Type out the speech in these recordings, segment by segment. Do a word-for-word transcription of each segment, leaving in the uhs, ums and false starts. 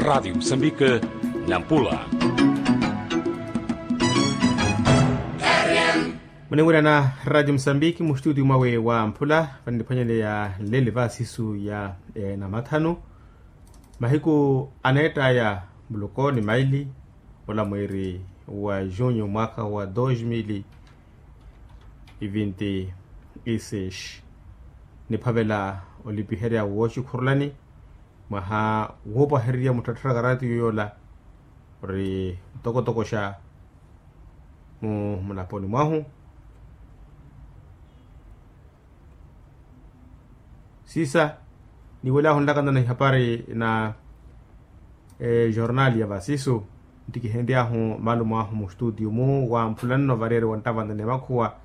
Radiyo musambike, nampula. Munimwirana radiyo musambike mustutiyo mwawe wa mpula vaniphwanyeleya nleli va sisu ya namathanu. Mahiku aneettaya muloko ni maili, ola mwiiri wa junyu mwaka wa dos mil e vinte e seis. Niphavela olipiherya wooxikhurulani mwaha woopahererya mutthattharaka ratiyo yoola ori mutokotokoxa mu mulaponi mwahu. Siisa niiwelyahu nlakana na ihapari na ejornali ya vasisu. Nttikihenry'ahu malumo ahu mustutiyo mu wa mphulanno variyari wa nttavantani ya makhuwa.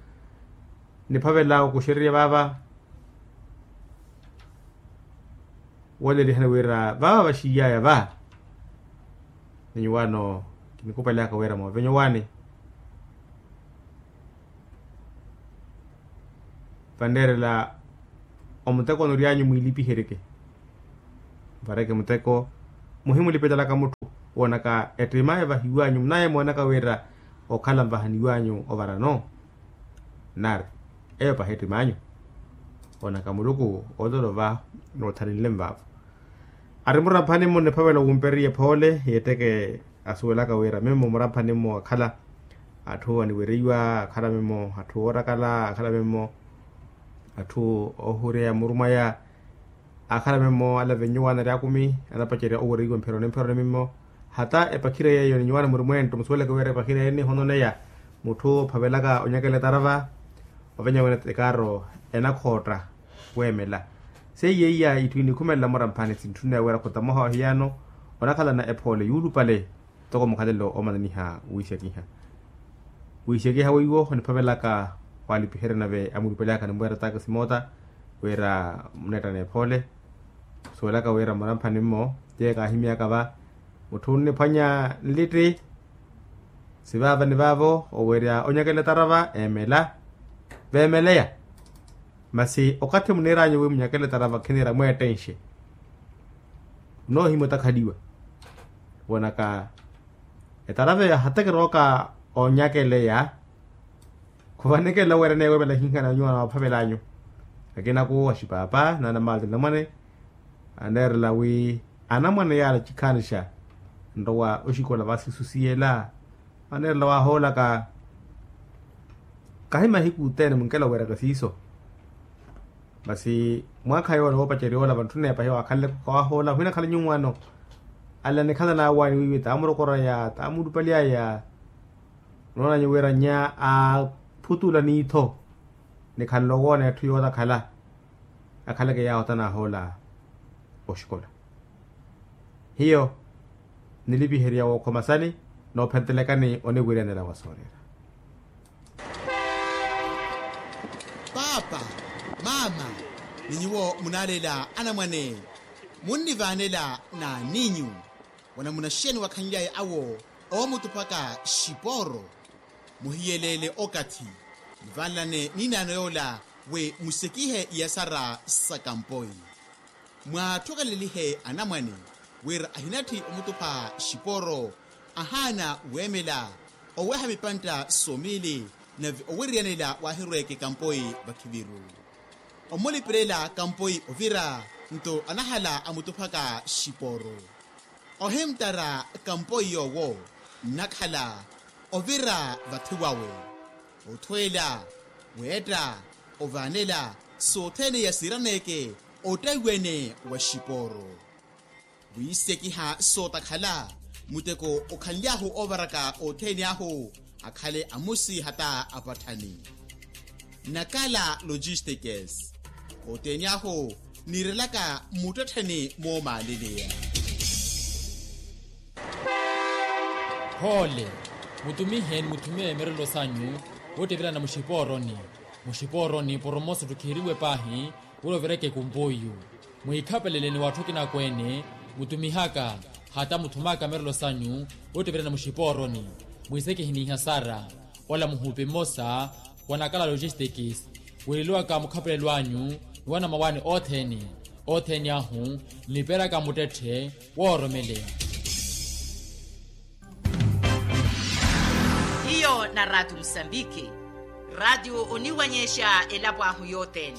Niphavela okuxererya vaava woolelihani wira vaava vaxiiy'aya va ni nyuwaano kinikupalihaka wira moovenyo waani. Vanneerela omuteko onory'anyu mwiilipiheryeke. Mvareke muteko muhimulipetalaka mutthu woonaka ettim'aya vahiw'anyu munaye moonaka wira okhala nvahaniw'anyu ovarano. Nari eyo pahi ettim'anyu woonaka muluku oololo va noothalinle nvaavo. Ari muramphani-mo niphavela wumperiye phoole yeetteke asuwelaka wira mimmo muramphani-mo akhala atthu aniwereiwa akhala mimmo atthu oorakala akhala mimmo atthu oohureya muru mwaya akhala mimmo alavennyuwaana ari akumi anapacerya owereiwa mpheroni mpheroni mimmo. Hata epakhira yeeyo ni nyuwaana muri mwentto musuweleke wira epakhira yeeyo nihononeya mutthu ophavelaka onyakela etarava. Ovenya wene ekaaro enakhootta weemela. Seiya iya itthu inikhumelela muramphani sintthunneya wira khutamoha ohiyano onakhalana ephoole yuulupale. Toko mukhalelo omananiha wiixekiha wiixekiha weiwo oniphavelaka walipiherya nave amulupelaka nimweera takisi moota wira muneettana ephoole. Suwelaka wira muramphani mmo tiye kaahimyaka va mutthu onniphwanya nlitti. Sivaava ni vaavo owerya onyakela etarava eemela veemeleya. Masi okathi muniir'anyu wi munyakele etarava khiniira mweettenxe. Munoohimya otakhaliwa woonaka etarava eyo ahatekera oka onyakeleya. Khuvanekela oweera neeweemela hihana nyuwana waaphavel'anyu. Akina kuwo axipaapa naana maati namwane aneerela wi anamwane yaala cikhanixa nrowa oxikola vasisusiyela. Aneerela waahoolaka kahi mahiku othene munkela oweraka siiso. Masi mwaakha yoola woopacerya yoola vantthunneya pahi waakhanleko khawahoola ohinakhale nyuwaano. Ala nikhalana awaani wiiwi taamurokoraya taamulupalyaya. Noonanyu wira nya aaphutula niitho nikhanle owoona etthu yootakhala. Akhaleke yaawo tanahoola oxikola. Hiyo nilipiherya wookhoma sani noophentelekani oniwiryanela wa soorera. Paapa, maama, ni nyuwo munaaleela anamwane munnivaanela n'aninyu? Wanamuna xeeni wakhanlyaye awo oomutuphaka xipooro? Muhiyeleele okathi muvaanelane n'inaano yoola wi musekihe iyasara sa kampoi. Mwaatthokhalelihe anamwane wira ahinatthi omutupha xipooro ahaana weemela oweha mipantta somiili nave oweryanela waahirweeke kampoi vakhiviru. Omulipirela kampoi ovira nto anahala amutuphaka xipooro. Ohimttara kampoi yoowo nnakhala ovira vathi wawe othweela weetta ovaanela sothene yasiiraneeke ottaiwene wa xipooro. Wiisekiha sootakhala muteko okhanly'ahu oovaraka othene ahu akhale amusi hata apatthani. Nakala logistikes othene ahu niirelaka mmuttettheni moomaaleleya. Phoole mutumihe ni muthume mirelo sanyu woottevela na muxipooroni. Muxipooroni poromoso ttukhiriwe paahi wira ovireke kumpoiyu. Mwiikhapelele ni watthu akinakweene mutumihaka hata muthumaka mirelo sanyu woottevela na muxipooroni. Mwiisekihe n'ihasara ola muhupi mmosa wa nakala logistikis wiireliwaka mukhapelelo anyu ni wanamawaani othene. Othene ahu nniperaka muttetthe wooromeleya. Ratio musambiki. Ratio oniwanyexa elapo ahu yothene.